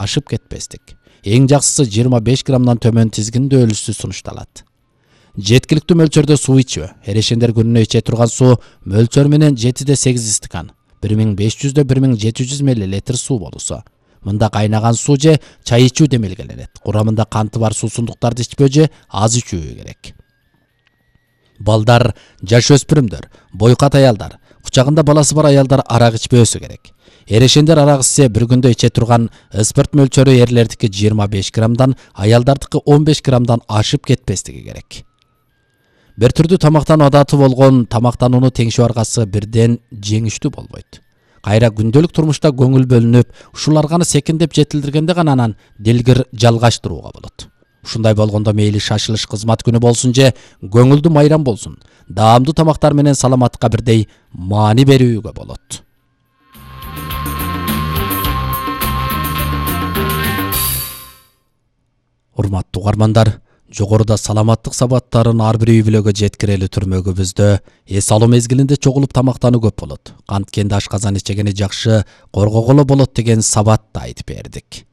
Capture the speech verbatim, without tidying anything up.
ашып кетпестик. Эң жакшысы жыйырма беш граммдан төмөн тизгиндүү өлүшсү сунушталат. Жеткиликтүү мөлчөрдө суу ичүү. Эрешендер күнүнө иче турган суу мөлчөр менен жетиде сегиз стакан, бир миң беш жүздөн бир миң жети жүз миллилитр суу болусу. Мында кайнаган суу же чай ичүү демелгеленет. Курамында канты бар суусундуктарды ичпөө же аз ичүү керек. Балдар, жаш өспүрүмдөр, бойкат аялдар, кучагында баласы бар аялдар арак ичпөөсү керек. Эрешендер арак ичсе бир күндө иче турган спирт мөлчөрү эрлердики жыйырма беш граммдан, аялдардыкы он беш граммдан ашып кетпестиги керек. Бир түрдүү тамактануу адаты болгон тамактанууну теңшөө аркасы бирден жеңиштүү болбойт. Кайра күндөлүк турмушта көңүл бөлүнүп, ушулар гана секиндеп жетилдиргенде гана анан дилгир жалгаштырууга болот. Ушундай болгондо мейли шашылыш кызмат күнү болсун же көңүлдүү майрам болсун, даамдуу тамактар менен саламатка бирдей маани берүүгө болот. Урматтуу угармандар, жогоруда саламаттык сабаттарын ар бир үй бүлөгө жеткирели түрмөгүбүздө эс алуу мезгилинде чогулуп тамактануу көп болот. Канткенде ашказан ичегени жакшы коргоголо болот деген сабатты айтып бердик.